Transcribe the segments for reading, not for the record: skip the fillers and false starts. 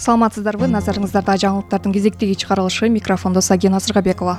Саламатсыздарбы, назарыңыздарда жаңылыктардын кезектеги чыгарылышы, микрофондо Сагина Сыргабекова.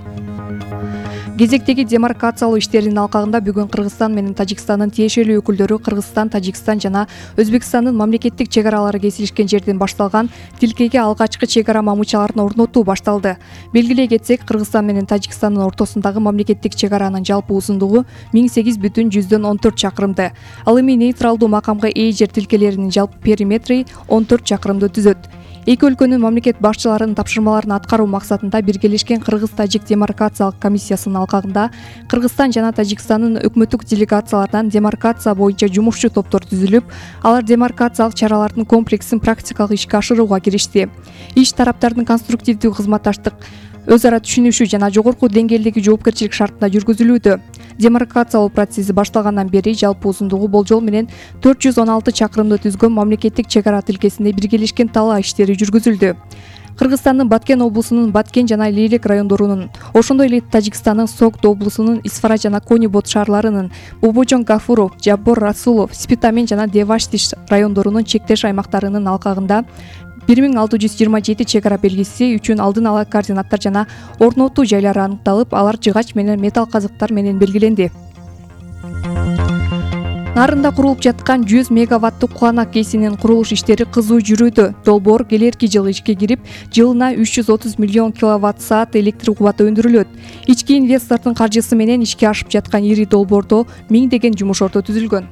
Кезектеги демаркациялоо иштеринин алкагында бүгүн Кыргызстан менен Тажикстандын тиешелүү өкүлдөрү Кыргызстан, Тажикстан жана Өзбекстандын мамлекеттик чек аралары кесилишкен жерден башталган тилкеге алгачкы чек ара мамычаларын орнотуу башталды. Белгилей кетсек, Кыргызстан менен Тажикстандын ортосундагы мамлекеттик чек аранын жалпы узундугу 18,14 чакырымды. Ал эми нейтралдуу макамга ээ жер тилкелеринин жалпы периметри 14 чакырымды түзөт. Эки өлкөнүн мамлекет башчыларынын тапшырмаларын аткаруу максатында биргелешкен Кыргыз-Тажик демаркациялык комиссиясынын алкагында Кыргызстан жана Тажикстандын өкмөттүк делегацияларынан демаркация боюнча жумушчу топтор түзүлүп, алар демаркациялык чаралардын комплексин практикалык ишке ашырууга киришти. Иш тараптардын конструктивдүү кызматташтык, өз ара түшүнүшүү жана жогорку деңгээлдеги жоопкерчилик шартында жүргүзүлүүдө. Демаркациялоо процесси башталгандан бери жалпы узундугу болжол менен 416 чакырымды түзгөн мамлекеттик чек ара тилкесинде биргелешкен талаа иштери жүргүзүлдү. Кыргызстандын Баткен облусунун Баткен жана Лейлек райондорунун, ошондой эле Тажикстандын Согд облусунун Исфара жана Конибот шаарларынын, Бобожон Гафуров, Жаббор Расулов, Спитамин жана Деваштиш райондорунун чектеш аймактарынын алкагында 1627 чек ара белгиси үчүн алдын ала координаттар жана орнотуу жайлары аныкталып, алар жыгач менен металл казыктар менен белгиленди. Нарында курулуп жаткан 100 мегаваттык Куланак КЭСинин курулуш иштери кызуу жүрүүдө. Долбоор келерки жылы ишке кирип, жылына 330 миллион киловатт-саат электр кубаты өндүрүлөт. Ички инвестордун каржысы менен ишке ашып жаткан ири долбоордо миңдеген жумуш орто түзүлгөн.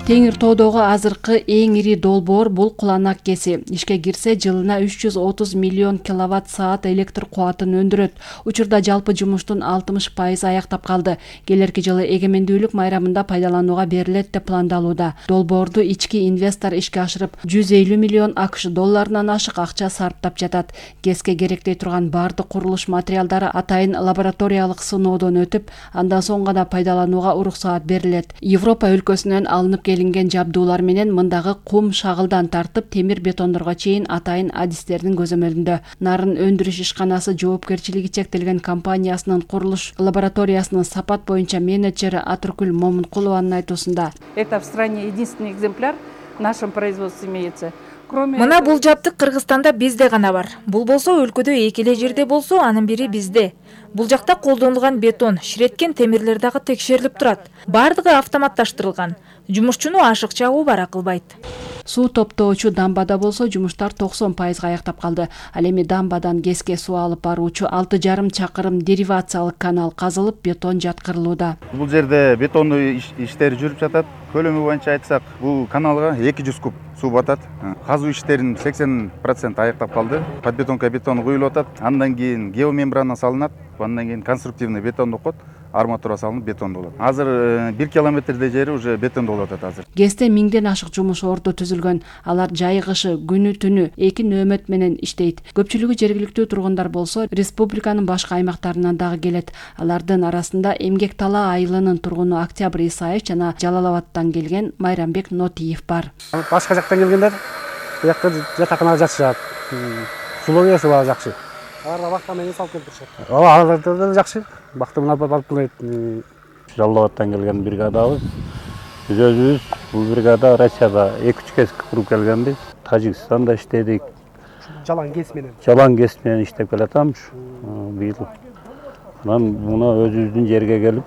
Теңир тоодогу азыркы эң ири долбоор бул Куланак КЭСи. Ишке кирсе, жылына 330 миллион киловатт-саат электр кубатын өндүрөт. Учурда жалпы жумуштун 60% аяктап калды. Келерки жылы эгемендүүлүк майрамында пайдаланууга берилет деп пландалууда. Долбоорду ички инвестор ишке ашырып, 150 миллион АКШ долларынан ашык акча сарптап жатат. КЭСке керектей турган бардык курулуш материалдары атайын лабораториялык сыноодон өтүп, андан соң гана пайдаланууга уруксаат берилет. Европа өлкөсүнөн алынып келинген жабдуулар менен мындагы кум шагылдан тартып темир бетондорго чейин атайын адистердин көзөмөлүндө. Нарын өндүрүш ишканасы жоопкерчилиги чектелген компаниясынын курулуш лабораториясынын сапат боюнча менеджери Атыркүл Момункулованын айтуусунда. Это в стране единственный экземпляр в нашем производстве имеется. Мына бул жабдык Кыргызстанда бизде гана бар. Бул болсо өлкөдө эки эле жерде болсо, анын бири бизде. Бул жакта колдонулган бетон, ширеткен темирлер дагы текшерилип турат. Бардыгы автоматташтырылган. Жумушчуну ашык чагуу бара кылбайт. Суу топтоочу дамбада болсо жумуштар 90% аяктап калды. Ал эми дамбадан КЭСке суу алып баруучу 6,5 чакырым деривациялык канал казылып, бетон жаткырылууда. Бул жерде бетондуу иштери жүрүп жатат. Көлөмү боюнча айтсак, бул каналга 200 куб суу батат. Казуу иштеринин 80% аяктап калды. Подбетонка бетон куюлуп атат. Андан кийин геомембрана салынат. Андан кийин конструктивный бетонду кот. Арматура салынып бетондуу болот. Азыр 1 километрдей жери уже бетондуу болуп атат азыр. КЭСте миңден ашык жумуш орду түзүлгөн. Алар жай кышы, күнү түнү 2 нөөмөт менен иштейт. Көпчүлүгү жергиликтүү тургундар болсо, республиканын башка аймактарынан дагы келет. Алардын арасында Эмгек Талаа айылынын тургуну Октябрь Исаев жана Жалалабадтан келген Майрамбек Нотиев бар. Башка жактан келгендер бу жакта жатаканага жатышат. Сулоосу баа жакшы. Аларга бакта менен салып келип турушат. Аларда да жакшы. Бакта менен алып келет. Жалалабадтан келген бригадабыз. Биз өзүбүз бул бригада Россияда 2-3 кез куруп келгенбиз. Тажикстанда иштедик. Жалаң КЭС менен. Жалаң КЭС менен иштеп келатамыз. Быйыл. Анан муна өзүбүздүн жерге келип,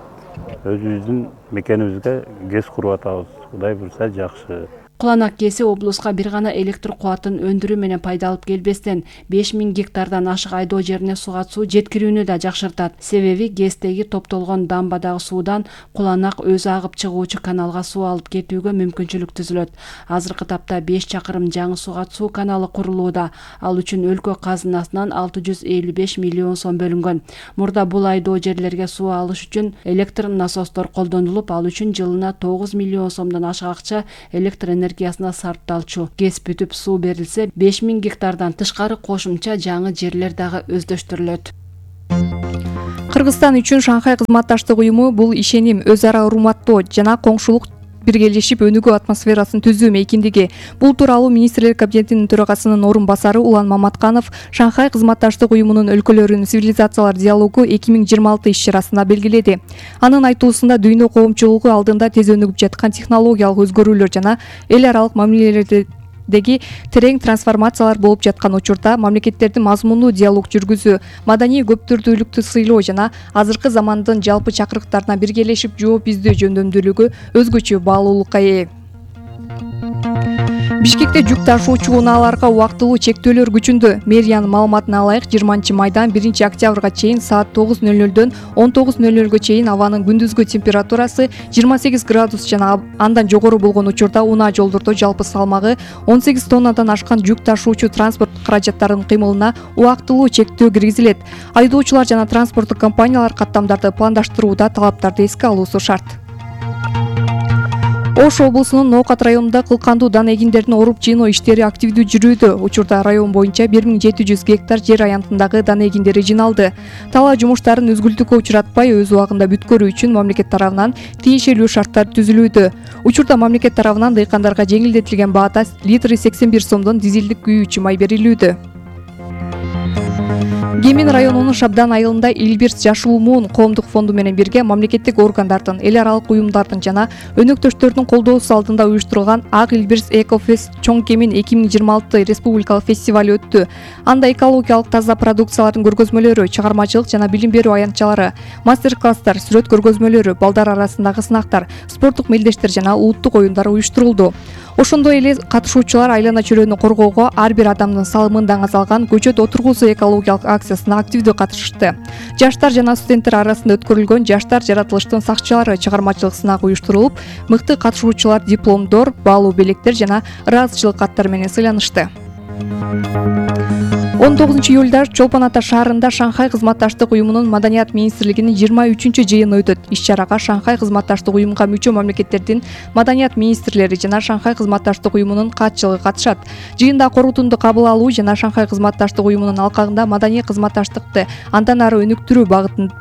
өзүбүздүн мекенибизге КЭС куруп атабыз. Кудай буйрса жакшы. Куланак КЭСи облуска бир гана электр кубатын өндүрүү менен пайда алып келбестен 5000 гектардан ашык айдоо жерине сугат суу жеткирүүнү да жакшыртат. Себеби КЭСтеги топтолгон дамбадагы суудан Куланак өзү агып чыгуучу каналга суу алып кетүүгө мүмкүнчүлүк түзүлөт. Азыркы тапта 5 чакырым жаңы сугат суу каналы курулууда. Ал үчүн өлкө казынасынан 655 миллион сом бөлүнгөн. Мурда бул айдоо жерлерге суу алыш үчүн электр насостор колдонулуп, ал үчүн жылына 9 миллион сомдон ашык акча электр энергиясына сарпталчу. КЭС бүтүп суу берилсе, 5000 гектардан тышкары кошумча жаңы жерлер дагы өздөштүрүлөт. Кыргызстан үчүн Шанхай кызматташтык уюму бул ишеним, өз ара урматтоо жана коңшулук биргелешип өнүгүү атмосферасын түзүү мейкиндиги. Бул тууралуу министрлер кабинетинин төрагасынын орун басары Улан Маматканов Шанхай кызматташтык уюмунун өлкөлөрүнүн цивилизациялар диалогу 2026 иш-чарасында белгиледи. Анын айтуусунда дүйнө коомчулугу алдында тез өнүгүп жаткан технологиялык өзгөрүүлөр жана эл аралык мамилелерди мамлекеттердеги терең трансформациялар болуп жаткан учурда мамлекеттердин мазмундуу диалог жүргүзүү, маданий көптүрдүүлүктү сыйлоо жана азыркы замандын жалпы чакырыктарына биргелешип жооп издөө жөндөмдүүлүгү өзгөчө баалуулукка ээ. Бишкекте жүк ташуучу унааларга убактылуу чектөөлөр күчүндө. Мэриянын маалыматына ылайык 20 майдан 1 октябрга чейин саат 9:00дөн 19:00га чейин абанын күндүзгү температурасы 28 градус жана андан жогору болгон учурда унаа жолдордо жалпы салмагы 18 тоннадан ашкан жүк ташуучу транспорт каражаттарынын кыймылына убактылуу чектөө киргизилет. Айдоочулар жана транспорттук компаниялар каттамдарды пландаштырууда талаптарды эске алуусу шарт. Ош облусунун Ноокат районунда кылкандуу дан эгиндерин оруп жыйноо иштери активдүү жүрүүдө. Учурда район боюнча 1700 гектар жер аянтындагы дан эгиндери жыйналды. Талаа жумуштарын үзгүлтүккө учуратпай өз убагында бүткөрүү үчүн мамлекет тарабынан тиешелүү шарттар түзүлүүдө. Учурда мамлекет тарабынан дыйкандарга жеңилдетилген баада литри 81 сомдон дизелдик күйүүчү май берилүүдө. Кемин районунун Шабдан айылында Илбирс Жашыл Муун коомдук фонду менен бирге мамлекеттик органдардын, эл аралык уюмдардын жана өнөктөштөрдүн колдоосу алдында уюштурулган Ак Илбирс Экофест Чоң Кемин 2026 республикалык фестиваль өттү. Анда экологиялык таза продукциялардын көргөзмөлөрү, чыгармачылык жана билим берүү аянтчалары, мастер-класстар, сүрөт көргөзмөлөрү, балдар арасындагы сынактар, спорттук мелдештер жана улуттук оюндар уюштурулду. Ошондой эле катышуучулар айлана чөлөөнү коргоого ар бир адамдын салымындан казалган көчөт отургузуу экологиялык акциясына активдүү катышышты. Жаштар жана студенттер арасында өткөрүлгөн жаштар жаратылыштын сакчылары чыгармачылык сынагы уюштурулуп, мыкты катышуучулар дипломдор, баалуу белектер жана ыраазычылык каттар менен сыйланышты. 19 июлда Чолпон Ата шаарында Шанхай кызматташтык уюмунун Маданият министрлигинин 23-жыйыны өтөт. Иш-чарага Шанхай кызматташтык уюмга мүчө мамлекеттердин маданият министрлери жана Шанхай кызматташтык уюмунун катчылыгы катышат. Жыйында корутунду кабыл алуу жана Шанхай кызматташтык уюмунун алкагында маданий кызматташтыкты андан ары өнүктүрүү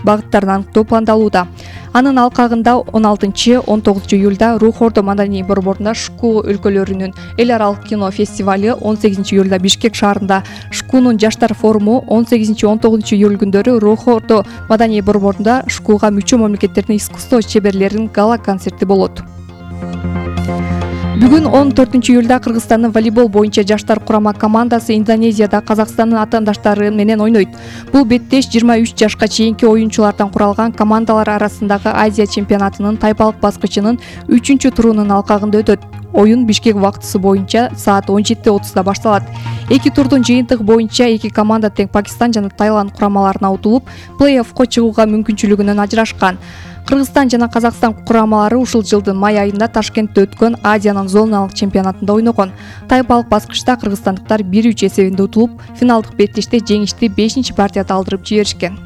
багыттарын аныктоо пландалууда. Анын алкагында 16-19 июлда Рухордо маданий борборунда Шку өлкөлөрүнүн эл аралык кино фестивалю, 18 июлда Бишкек шаарында Шкунун жаштар форуму, 18-19 июль күндөрү Рухордо маданий борборунда Шкуга мүчө мамлекеттердин искусство чеберлеринин гала концерти болот. Бүгүн 14 июлда Кыргызстандын волейбол боюнча жаштар курама командасы Индонезияда Казакстандын атаандаштары менен ойнойт. Бул беттеш 23 жашка чейинки оюнчулардан куралган командалар арасындагы Азия чемпионатынын тайпалык баскычынын 3-турунун алкагында өтөт. Оюн Бишкек убактысы боюнча саат 17:30 башталат. Эки турдун жыйынтыгы боюнча эки команда тең Пакистан жана Таиланд курамаларына утулуп, плей-оффко чыгууга мүмкүнчүлүгүнөн ажырашкан. Кыргызстан жана Казакстан курамалары ушул жылдын май айында Ташкентте өткөн Азиянын зоналык чемпионатында ойногон. Тайпалык баскычта кыргызстандыктар 1-3 эсебинде утулуп, финалдык беттеште жеңишти 5-партияда алдырып жиберишкен.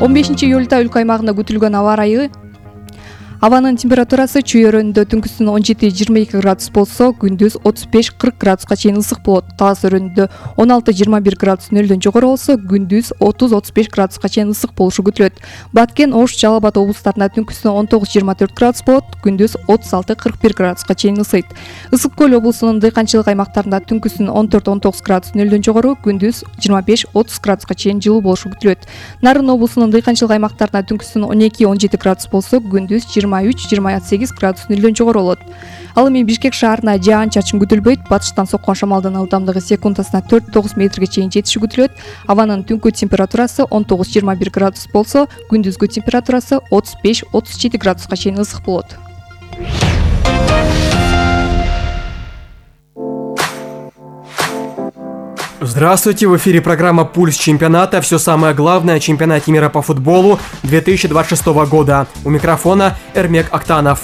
15 июлда өлкө аймагында күтүлгөн аба ырайы. Абанын температурасы чүйөрөндө түнкүсүн 17-22 градус болсо, күндүз 35-40 градуска чейин ысык болот. Талас өрөөнүндө 16-21 градус нөлдөн жогору болсо, күндүз 30-35 градуска чейин ысык болушу күтүлөт. Баткен, Ош, Жалал Абад облустарында түнкүсүн 19-24 градус болот, күндүз 36-41 градуска чейин ысыйт. Ысык көл облусунун дыйканчылык аймактарында түнкүсүн 14-19 градус нөлдөн жогору, күндүз 25-30 градуска чейин жылуу болушу күтүлөт. Нарын облусунун дыйканчылык аймактарында түнкүсүн 12-17 градус болсо, күндүз 23-28 градус нөлдөн жогору болот. Ал эми Бишкек шаарына жаан-чачын күтүлбөйт. Батыштан соккон шамалдын ылдамдыгы секундасына 4-9 метрге чейин жетиши күтүлөт. Абанын түнкү температурасы 19-21 градус болсо, күндүзгү температурасы 35-37 градуска чейин ысык болот. Здравствуйте, в эфире программа «Пульс чемпионата». Все самое главное о чемпионате мира по футболу 2026 года. У микрофона Эрмек Актанов.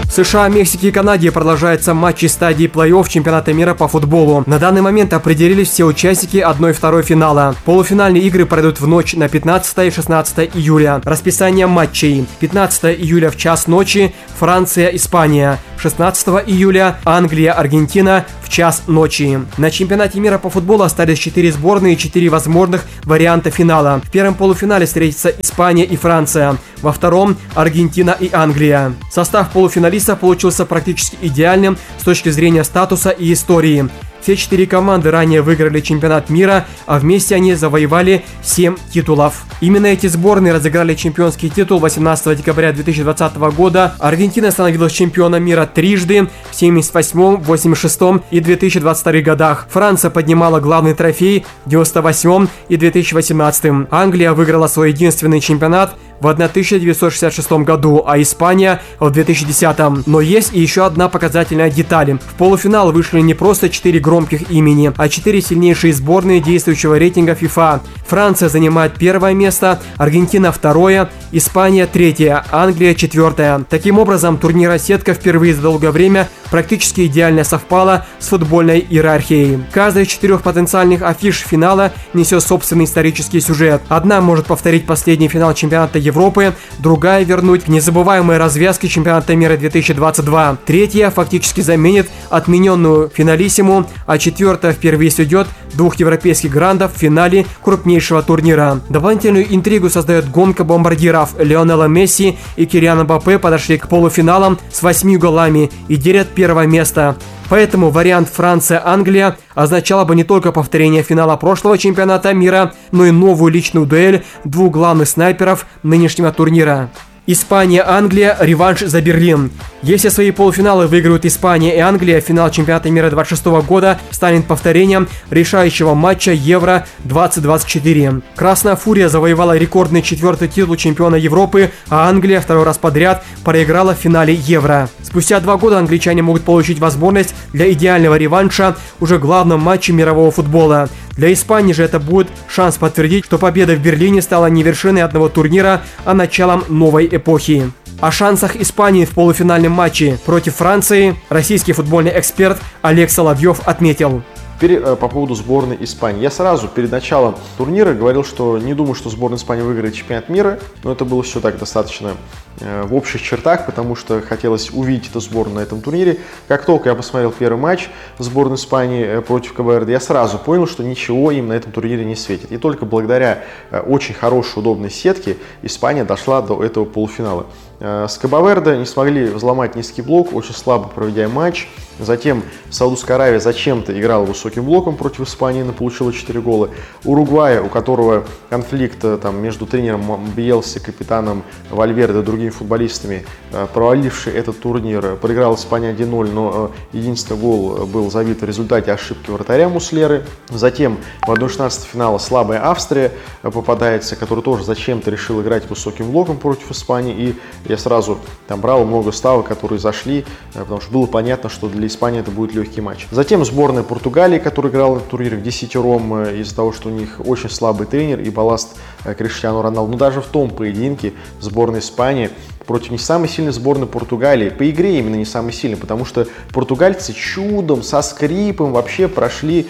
В США, Мексике и Канаде продолжаются матчи стадии плей-офф чемпионата мира по футболу. На данный момент определились все участники 1 и 2 финала. Полуфинальные игры пройдут в ночь на 15 и 16 июля. Расписание матчей. 15 июля в час ночи Франция, Испания. 16 июля Англия, Аргентина в час ночи. На чемпионате мира по футболу остались 4 сборные и 4 возможных варианта финала. В первом полуфинале встретятся Испания и Франция. Во втором Аргентина и Англия. Состав полуфиналистов получился практически идеальным с точки зрения статуса и истории. Все 4 команды ранее выиграли чемпионат мира, а вместе они завоевали 7 титулов. Именно эти сборные разыграли чемпионский титул 18 декабря 2020 года. Аргентина становилась чемпионом мира трижды в 78, 86 и 2022 годах. Франция поднимала главный трофей в 98 и 2018. Англия выиграла свой единственный чемпионат в 1966 году, а Испания в 2010. Но есть и еще одна показательная деталь. В полуфинал вышли не просто 4 громких имени, а 4 сильнейшие сборные действующего рейтинга FIFA. Франция занимает первое место, Аргентина второе, Испания третье, Англия четвертое. Таким образом, турнирная сетка впервые за долгое время практически идеально совпала с футбольной иерархией. Каждая из 4 потенциальных афиш финала несет собственный исторический сюжет. Одна может повторить последний финал чемпионата Европы, другая вернуть незабываемые развязки чемпионата мира 2022. Третья фактически заменит отмененную финалиссиму, а четвертая впервые сведет 2 европейских грандов в финале крупнейшего турнира. Дополнительную интригу создает гонка бомбардиров. Лионела Месси и Килиан Мбаппе подошли к полуфиналам с 8 голами и делят первое место. Поэтому вариант Франция-Англия означало бы не только повторение финала прошлого чемпионата мира, но и новую личную дуэль 2 главных снайперов нынешнего турнира. Испания-Англия – реванш за Берлин. Если свои полуфиналы выиграют Испания и Англия, финал чемпионата мира 2026 года станет повторением решающего матча Евро-2024. Красная Фурия завоевала рекордный 4-й титул чемпиона Европы, а Англия 2-й раз подряд проиграла в финале Евро. Спустя 2 года англичане могут получить возможность для идеального реванша уже в главном матче мирового футбола. Для Испании же это будет шанс подтвердить, что победа в Берлине стала не вершиной одного турнира, а началом новой эпохи. О шансах Испании в полуфинальном матче против Франции российский футбольный эксперт Олег Соловьев отметил. Теперь по поводу сборной Испании. Я сразу перед началом турнира говорил, что не думаю, что сборная Испании выиграет чемпионат мира, но это было все так достаточно в общих чертах, потому что хотелось увидеть эту сборную на этом турнире. Как только я посмотрел первый матч сборной Испании против КВР, я сразу понял, что ничего им на этом турнире не светит. И только благодаря очень хорошей, удобной сетке Испания дошла до этого полуфинала. С Кабо-Верде не смогли взломать низкий блок, очень слабо проведя матч. Затем Саудовская Аравия зачем-то играла высоким блоком против Испании, но получила 4 гола. Уругвай, у которого конфликт между тренером Биелси, капитаном Вальверде и другими футболистами, проваливший этот турнир, проиграл Испания 1-0, но единственный гол был забит в результате ошибки вратаря Муслеры. Затем в 1/16 финала слабая Австрия попадается, которая тоже зачем-то решила играть высоким блоком против Испании. И я сразу брал много ставок, которые зашли, потому что было понятно, что для Испании это будет легкий матч. Затем сборная Португалии, которая играла на турнире в 10-ром из-за того, что у них очень слабый тренер и балласт Криштиану Роналду. Но даже в том поединке сборная Испании против не самой сильной сборной Португалии, по игре именно не самой сильной, потому что португальцы чудом, со скрипом вообще прошли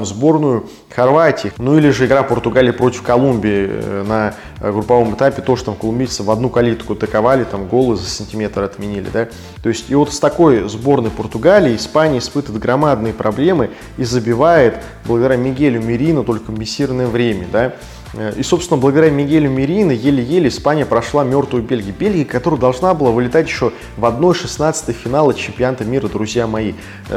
сборную Хорватии. Ну или же игра Португалии против Колумбии на групповом этапе, тоже колумбийцы в одну калитку атаковали, голы за сантиметр отменили, да. То есть и вот с такой сборной Португалии Испания испытывает громадные проблемы и забивает благодаря Мигелю Мерино только в мессирное время, да. И, собственно, благодаря Мигелю Мерино еле-еле Испания прошла мертвую Бельгию. Бельгия, которая должна была вылетать еще в 1/16 финала чемпионата мира, друзья мои.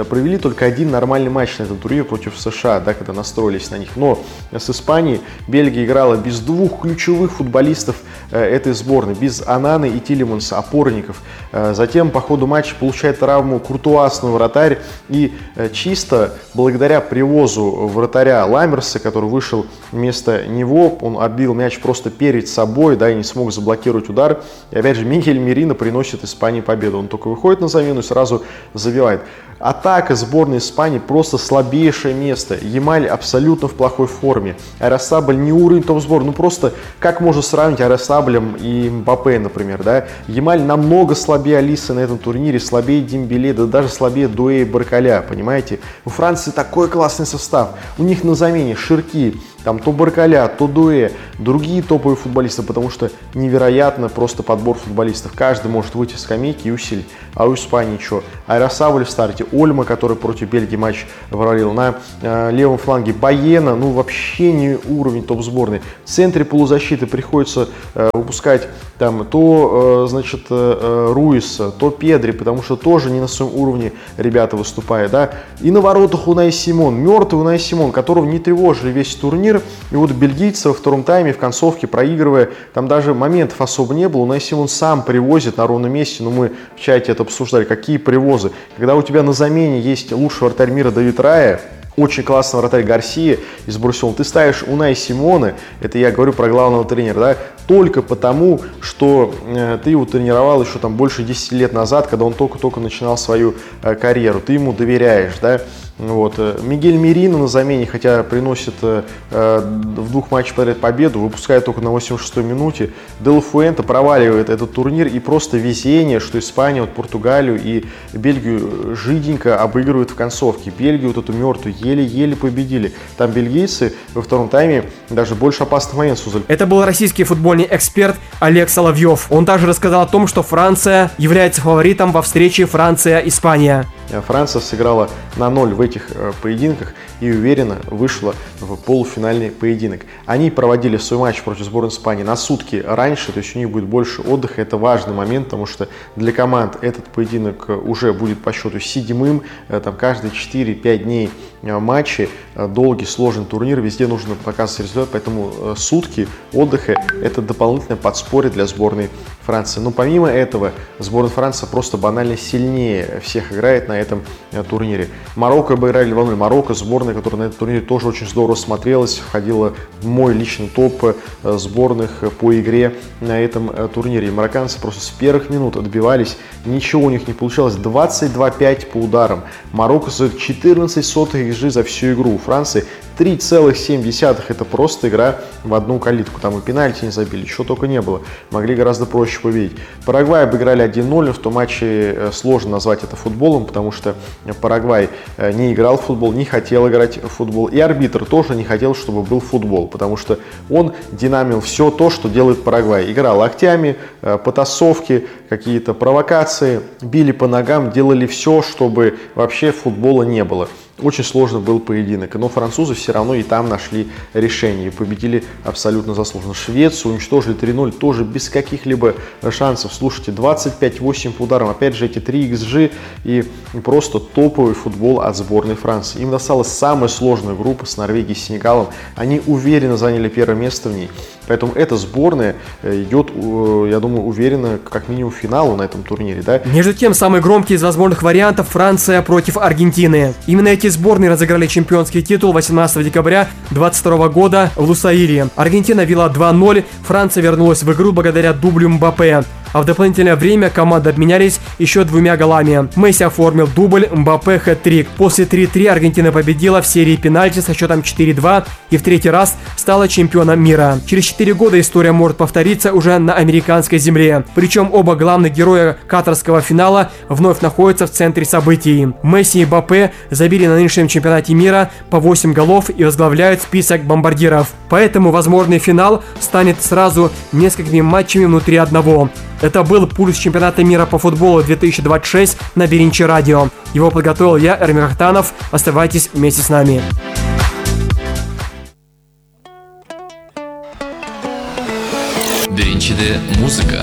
Провели только один нормальный матч на этом турнире против США, да, когда настроились на них. Но с Испанией Бельгия играла без 2 ключевых футболистов этой сборной, без Ананы и Тилеманса, опорников. Затем по ходу матча получает травму Куртуасный вратарь. И чисто благодаря привозу вратаря Ламмерса, который вышел вместо него, он отбил мяч просто перед собой, да, и не смог заблокировать удар. И опять же Мигель Мерино приносит Испании победу. Он только выходит на замену и сразу забивает. Атака сборной Испании просто слабейшее место. Ямаль абсолютно в плохой форме. Арасабль не уровень топ-сборной. Ну просто как можно сравнить Арасаблем и Мбаппе, например, да? Ямаль намного слабее Алисы на этом турнире, слабее Дембеле, да даже слабее Дуэ и Баркаля, понимаете? У Франции такой классный состав. У них на замене Ширки, то Баркаля, то Дуэ, другие топовые футболисты, потому что невероятно просто подбор футболистов. Каждый может выйти с скамейки и усилить. А у Испании что? Арасабль в старте, Ольма, который против Бельгии матч провалил, на левом фланге Баена, ну вообще не уровень топ-сборной. В центре полузащиты приходится выпускать там то, значит, Руис, то Педри, потому что тоже не на своем уровне ребята выступают, да. И на воротах Унай Симон, мертвый Унай Симон, которого не тревожили весь турнир. И вот бельгийцы во втором тайме, в концовке, проигрывая, там даже моментов особо не было. Унай Симон сам привозит на ровном месте, но мы в чате это обсуждали, какие привозы. Когда у тебя на замене есть лучший вратарь мира Давид Рая, очень классный вратарь Гарсия из Барселоны, ты ставишь Унай Симона, это я говорю про главного тренера, да, только потому, что ты его тренировал еще там больше 10 лет назад, когда он только-только начинал свою карьеру, ты ему доверяешь, да. Вот. Мигель Мерино на замене, хотя приносит в 2 матчах подряд победу, выпускает только на 86-й минуте. Де Фуэнте проваливает этот турнир, и просто везение, что Испания, вот Португалию и Бельгию жиденько обыгрывают в концовке. Бельгию вот эту мертвую еле-еле победили. Там бельгийцы во втором тайме даже больше опасных моментов создали. Это был российский футбольный эксперт Олег Соловьев. Он также рассказал о том, что Франция является фаворитом во встрече Франция-Испания. Франция сыграла на 0 в этих поединках и уверенно вышла в полуфинальный поединок. Они проводили свой матч против сборной Испании на сутки раньше, то есть у них будет больше отдыха. Это важный момент, потому что для команд этот поединок уже будет по счету 7-м. Там каждые 4-5 дней матчи, долгий, сложный турнир, везде нужно показывать результат, поэтому сутки отдыха – это дополнительное подспорье для сборной Франции. Но помимо этого, сборная Франции просто банально сильнее всех играет на этом турнире. Марокко обыграли 2-0. Марокко, сборная, которая на этом турнире тоже очень здорово смотрелась, входила в мой личный топ сборных по игре на этом турнире. И марокканцы просто с первых минут отбивались, ничего у них не получалось. 22-5 по ударам. Марокко создает 14 сотых XG за всю игру. У Франции 3,7. Это просто игра в одну калитку. Там и пенальти не забили, чего только не было. Могли гораздо проще победить. Парагвай обыграли 1-0. В том матче сложно назвать это футболом, потому что Парагвай не играл в футбол, не хотел играть в футбол. И арбитр тоже не хотел, чтобы был футбол, потому что он динамил все то, что делает Парагвай. Играл локтями, потасовки, какие-то провокации, били по ногам, делали все, чтобы вообще футбола не было. Очень сложный был поединок, но французы все равно и там нашли решение и победили абсолютно заслуженно. Швецию уничтожили 3-0, тоже без каких-либо шансов. Слушайте, 25-8 по ударам, опять же эти 3 XG и просто топовый футбол от сборной Франции. Им досталась самая сложная группа с Норвегией и Сенегалом, они уверенно заняли первое место в ней. Поэтому эта сборная идет, я думаю, уверенно, как минимум, к финалу на этом турнире. Да? Между тем, самый громкий из возможных вариантов – Франция против Аргентины. Именно эти сборные разыграли чемпионский титул 18 декабря 2022 года в Лусаиле. Аргентина вела 2-0, Франция вернулась в игру благодаря дублю Мбаппе. А в дополнительное время команды обменялись еще 2 голами. Месси оформил дубль, Мбаппе хэт-трик. После 3-3 Аргентина победила в серии пенальти со счетом 4-2 и в 3-й раз стала чемпионом мира. Через 4 года история может повториться уже на американской земле. Причем оба главных героя катарского финала вновь находятся в центре событий. Месси и Мбаппе забили на нынешнем чемпионате мира по 8 голов и возглавляют список бомбардиров. Поэтому возможный финал станет сразу несколькими матчами внутри одного. Это был пульс чемпионата мира по футболу 2026 на Беринчи радио. Его подготовил я, Эрмек Актанов. Оставайтесь вместе с нами. Беринчиде музыка.